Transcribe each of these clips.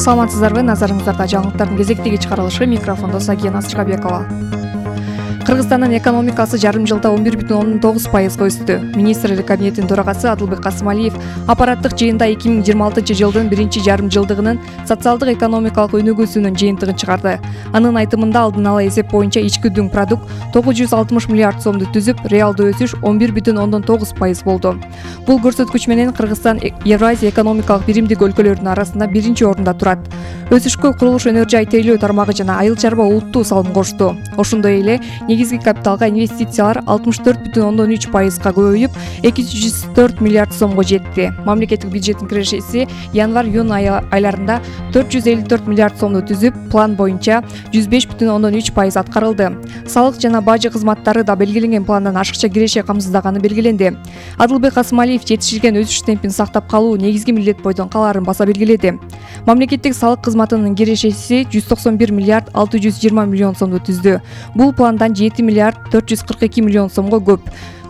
Саламатсыздарбы, назарыңыздарда жаңылыктардын кезектеги чыгарылышы, микрофондо Сагия Насыркабекова. Кыргызстандын экономикасы жарым жылда 11,9%га өстү. Министрлер кабинетинин төрагасы Адылбек Касымалиев аппараттык жыйында 2026 жылдын биринчи жарым жылдыгынын социалдык экономикалык өнүгүүсүнүн жыйынтыгын чыгарды. Анын айтымында алдын ала эсеп боюнча ички дүң продукт 960 миллиард сомду түзүп, реалдуу өсүш 11,9% болду. Бул көрсөткүч менен Кыргызстан Евразия экономикалык биримдик өлкөлөрдүн арасында биринчи орунда турат. Өсүшкө курулуш, өнөр жай тейлөө тармагы жана айыл чарба улуттуу салым кошту. Ошондой эле негизги капиталга инвестициялар 64,3%га көбөйүп, 204 миллиард сомго жетти. Мамлекеттик бюджеттин кирешеси январь-июнь айларында 454 миллиард сомду түзүп, план боюнча 105,3% аткарылды. Салык жана бажы кызматтары да белгиленген пландан ашыкча киреше камсыздаганы белгиленди. Адылбек Касымалиев жетишилген өсүш темпин сактап калуу негизги милдет бойдон калаарын баса белгиледи. Мамлекеттик салык кызматынын кирешеси 191 миллиард 620 миллион сомду түздү. Бул пландан 7 миллиард 442 миллион сомго көп.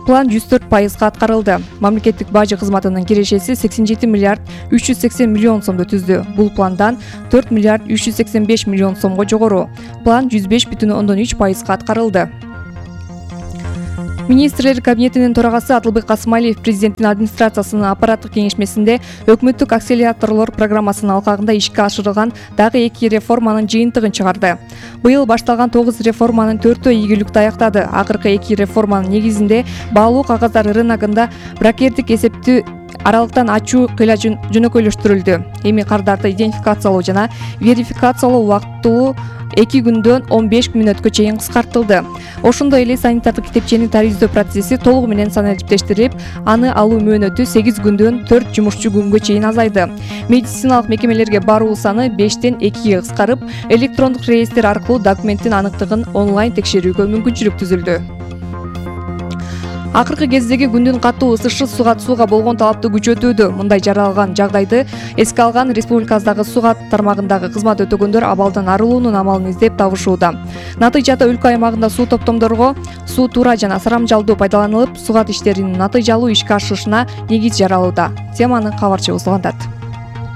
План 104%га аткарылды. Мамлекеттик бажы кызматынын кирешеси 87 миллиард 380 миллион сомду түздү. Бул пландан 4 миллиард 385 миллион сомго жогору. План 105,3%га аткарылды. Министрлер кабинетинин төрагасы Адылбек Касымалиев президенттин администрациясынын аппараттык кеңешмесинде өкмөттүк акселераторлор программасынын алкагында ишке ашырылган дагы 2 реформанын жыйынтыгын чыгарды. Быйыл башталган 9 реформанын 4-өө ийгиликтүү аяктады. Акыркы 2 реформанын негизинде баалуу кагаздар рыногунда брокердик эсепти аралыктан ачуу кыйла жөнөкөйлөштүрүлдү. Эми кардарды идентификациялоо жана верификациялоо убактылуу 2 күндөн 15 мүнөткө чейин кыскартылды. Ошондой эле санитардык китепчени тарифдөө процесси толугу менен саналиптештирип, аны алуу мөөнөтү 8 күндөн 4 жумушчу күнгө чейин азайды. Медициналык мекемелерге баруу саны 5-тен 2-ге кыскарып, электрондук реестр аркылуу документтин аныктыгын онлайн текшерүүгө мүмкүнчүлүк түзүлдү. Акыркы кездеги күндүн катуу ысышы суга болгон талапты күчөтүүдө. Мындай жаралган жагдайды эске алган республикабыздагы суга тармагындагы кызмат өтөгөндөр абалдан арылуунун амалын издеп табышууда. Натыйжада өлкө аймагында суу топтомдорго суу туура жана сарамжалдуу пайдаланылып, сугат иштеринин натыйжалуу ишке ашышына негиз жаралууда. Теманы кабарчыбыз улантат.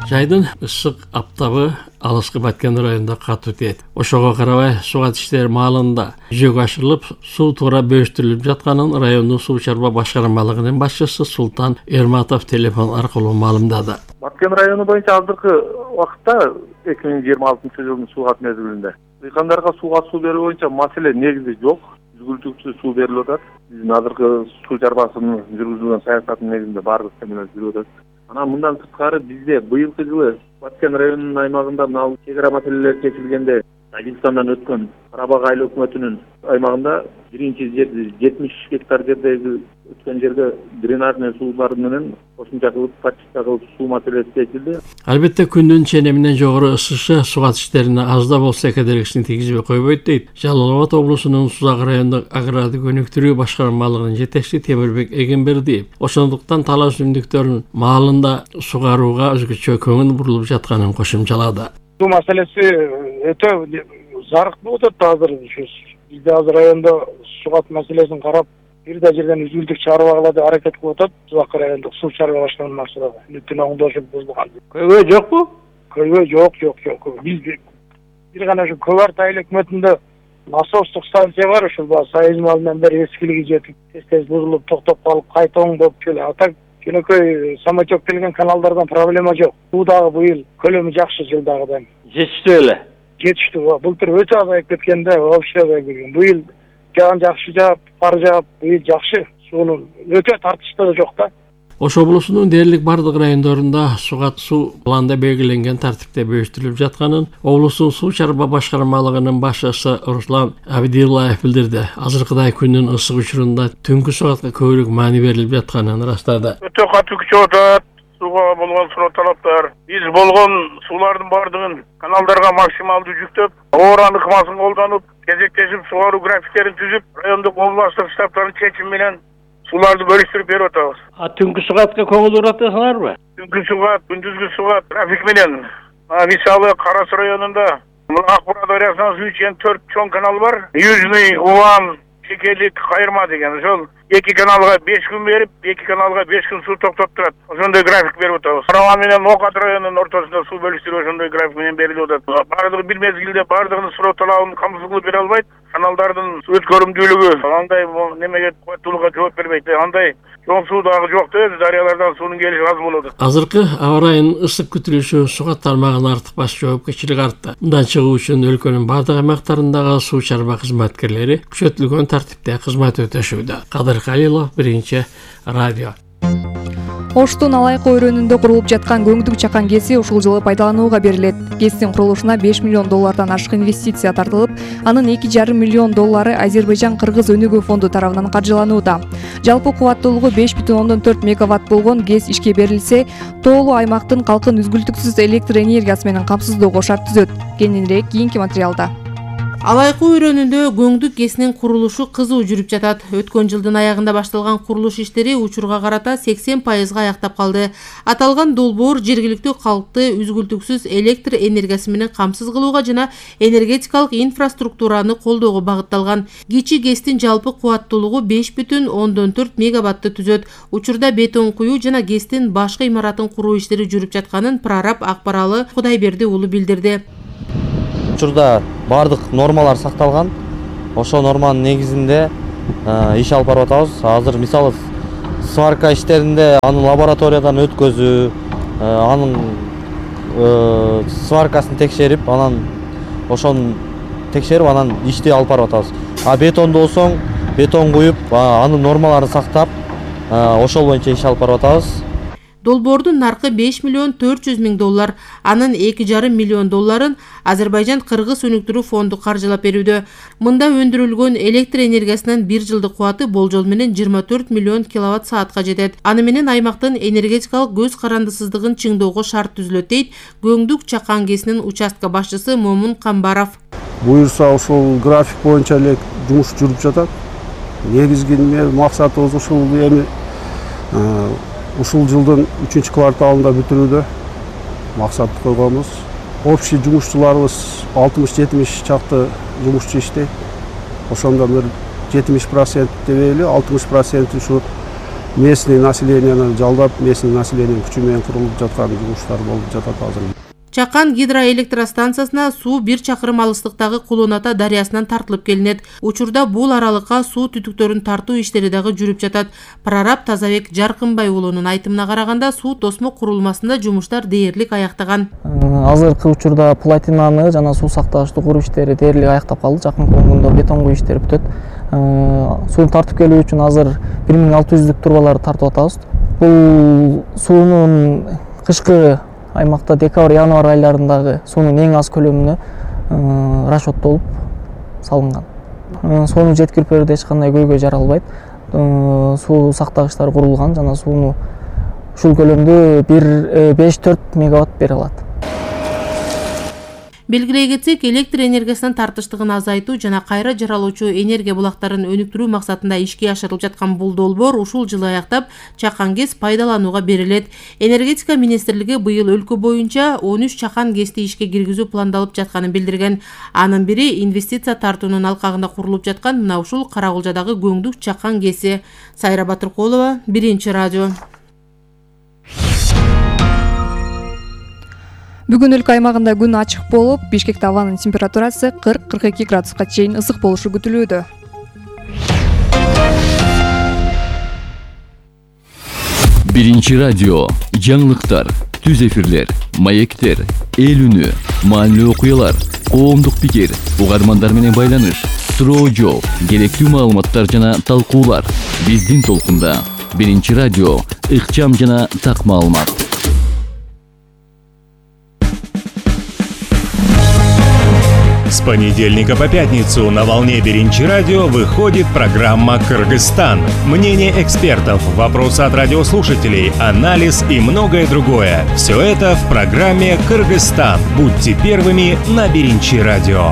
Жайдын ысык аптабы алыскы Баткен районунда катуу тиет. Ошого карабай сугат иштери маалында жүзөгө ашырылып, суу туура бөлүштүрүлүп жатканын райондун суу чарба башкармалыгынын башчысы Султан Эрматов телефон аркылуу маалымдады. Баткен району боюнча азыркы убакытта 2026 жылдын суугат мезгилинде дыйкандарга сууга суу берүү боюнча маселе негизи жок. Түзгүлтүксүз суу берилип атат. Биздин азыркы суу чарбасынын жүргүзүлгөн саясатынын негизинде баардык менен жүрүп атат. Анан мындан сырткары бизде быйылкы жылы Баткен районунун аймагында мына чек ара маселелери чечилгенде Тажикстандан өткөн Карабак айыл өкмөтүнүн аймагында биринчи жер 70 гектар жердеги өткөн жерге дренажный суулар менен кошумча кылып подчистка кылып суу маселеси чечилди. Албетте күндүн ченеминен жогору ысышы сугат иштерине аз да болсо кедергисин тийгизбей койбойт дейт Жалал Абад облусунун Сузак райондук агрардык өнүктүрүү башкармалыгынын жетекчиси Темирбек Эгембердиев. Ошондуктан талаа өсүмдүктөрүн маалында сугарууга өзгөчө көңүл бурулуп жатканын кошумчалады. Суу маселеси өтө зарык болуп атат азыр. Бизде азыр райондо сугат маселесин карап, бир да жерден үзүлдүк чыгарып алгыла деп аракет кылып атат. Сузак райондук суу чарба башкармасы бүтүн оңдошуп бузулган. Көйгөй жокпу? Көйгөй жок. Биз бир гана ушу Көбарт айыл өкмөтүндө насостук станция бар, ушул союз малынан бери эскилиги жетип, тез бузулуп, токтоп калып, кайта оңдоп келе. Атак жөнөкөй самочок келген каналдардан проблема жок. Суу дагы быйыл көлөмү жакшы жылдагыдан. Жетиштүү эле. Жетиштүү. Былтыр өтө азайып кеткенде, вообще азайып кеткен. Быйыл жаган жакшы жаап, кар жаап, быйыл жакшы. Суунун өтө тартыштыгы жок да. Ош облусунун дээрлик бардык райондорунда сугат суу планда белгиленген тартипте бөлүштүрүлүп жатканын облустун суу чарба башкармалыгынын башчысы Руслан Абдилаев билдирди. Азыркыдай күндүн ысык учурунда түнкү сугатка көбүрөөк маани берилип жатканын ырастады. Өтө катуу күчөп атат сууга болгон суроо талаптар. Биз болгон суулардын бардыгын каналдарга максималдуу жүктөп, ооран ыкмасын колдонуп, кезектешип сугаруу графиктерин түзүп, райондук областтык штабтардын чечими менен сууларды бөлүштүрүп берип атабыз. Түнкү сугатка көңүл буруп атасыңарбы? Түнкү сугат, күндүзгү сугат график менен. Мисалы Кара Суу районунда Акбура дарыясынан суу ичкен 4 чоң канал бар. Южный, Улан, Чекелик, Кайырма деген. Ошол 2 каналга 5 күн берип, 2 каналга 5 күн суу токтоп турат. Ошондой график берип атабыз. Карабан менен Окат районунун ортосунда суу бөлүштүрүү ошондой график менен берилип атат. Бардыгы бир мезгилде бардыгынын суроо талабын камсыз кылып бере албайт. Каналдардын суу өткөрүмдүүлүгү андай немеге кубаттуулукка жооп бербейт. Андай чоң суу дагы жок да, дарыялардан суунун келиши аз болот. Азыркы аба ырайынын ысык күтүлүшү сууга тармагына артыкпаш жоопкерчилик артты. Мындан чыгуу үчүн өлкөнүн бардык аймактарындагы суу чарба кызматкерлери күчөтүлгөн тартипте кызмат өтөшүүдө. Кадыр Калилов, Биринчи радио. Оштун Алайкы өрөөнүндө курулуп жаткан Көңдүк чакан КЭСи ушул жылы пайдаланууга берилет. КЭСтин курулушуна $5 миллион ашык инвестиция тартылып, анын $2,5 миллион Азербайжан-Кыргыз өнүгүү фонду тарабынан каржыланууда. Жалпы кубаттуулугу 5,4 мегаватт болгон КЭС ишке берилсе, тоолуу аймактын калкын үзгүлтүксүз электр энергиясы менен камсыздоого шарт түзөт. Кененирээк кийинки материалда. Алайкы өрөөнүндө Көңдүк КЭСинин курулушу кызуу жүрүп жатат. Өткөн жылдын аягында башталган курулуш иштери учурга карата 80% аяктап калды. Аталган долбоор жергиликтүү калкты үзгүлтүксүз электр энергиясы менен камсыз кылууга жана энергетикалык инфраструктураны колдоого багытталган. Кичи КЭСтин жалпы кубаттуулугу 5,4 мегаватты түзөт. Учурда бетон куюу жана КЭСтин башкы имаратын куруу иштери жүрүп жатканын прораб Акбаралы Кудайберди уулу билдирди. Учурда бардык нормалар сакталган. Ошол норманын негизинде иш алып барып атабыз. Азыр мисалы сварка иштеринде аны лабораториядан өткөзүү, анын сваркасын текшерип, анан ошону текшерип, анан ишти алып барып атабыз. Бетонду болсоң, бетон куюп, анын нормаларын сактап, ошол боюнча иш алып барып атабыз. Долбоордун наркы $5,4 миң, анын $2,5 миллион Азербайжан-Кыргыз өнүктүрүү фонду каржылап берүүдө. Мында өндүрүлгөн электр энергиясынын бир жылдык кубаты болжол менен 24 миллион киловатт саатка жетет. Аны менен аймактын энергетикалык көз карандысыздыгын чыңдоого шарт түзүлөт дейт Көңдүк чакан КЭСинин участка башчысы Момун Камбаров. Буюрса ушул график боюнча эле жумуш жүрүп жатат. Негизги максатыбыз ушул эми ушул жылдын 3 кварталында бүтүрүүдө максат койгонбуз. Общий жумушчуларыбыз 60-70 чакты жумушчу иштейт. Ошондо бир 70% дебейли, 60% ушу местный населенияны жалдап, местный населениянын күчү менен курулуп жаткан жумуштар болуп жатат азыр. Чакан гидроэлектростанциясына суу 1 чакырым алыстыктагы Кулоната дарыясынан тартылып келинет. Учурда бул аралыкка суу түтүктөрүн тартуу иштери дагы жүрүп жатат. Прораб Тазабек Жаркынбай уулунун айтымына караганда, суу тосмо курулмасында жумуштар дээрлик аяктаган. Азыркы учурда платинаны жана суу сактагычты куруу иштери дээрлик аяктап калды. Жакынкы күндө бетон куюу иштери бүтөт. Сууну тартып келүү үчүн азыр 1600 турбаларды тартып атабыз. Бул суунун кышкы аймакта декабрь-январь айларындагы суунун эң аз көлөмүнө расчеттолуп салынган. Сууну жеткирип берүүдө эч кандай көйгөй жаралбайт. Суу сактагычтар курулган жана сууну ушул көлөмдө 5-4 мегаватт бере алат. Белгилей кетсек, электр энергиясынын тартыштыгын азайтуу жана кайра жаралуучу энергия булактарын өнүктүрүү максатында ишке ашырылып жаткан бул долбоор ушул жылы аяктап, Чакан КЭС пайдаланууга берилет. Энергетика министрлиги быйыл өлкө боюнча 13 Чакан КЭСти ишке киргизүү пландалып жатканын билдирген. Анын бири инвестиция тартуунун алкагында курулуп жаткан мына ушул Карагулжадагы Көңдүк Чакан КЭСи. Сайра Батыркулова, Биринчи радио. Бүгүн өлкө аймагында күн ачык болуп, Бишкекте абанын температурасы 40-42 градуска чейин ысык болушу күтүлүүдө. Биринчи радио, жаңылыктар, түз эфирлер, маектер, эл үнү, маанилүү окуялар, коомдук пикир, угармандар менен байланыш, суроо жооп, керектүү маалыматтар жана талкуулар. Биздин толкунда Биринчи радио, ыкчам жана так маалымат. С понедельника по пятницу на волне Биринчи радио выходит программа «Кыргызстан». Мнение экспертов, вопросы от радиослушателей, анализ и многое другое. Все это в программе «Кыргызстан». Будьте первыми на Биринчи радио.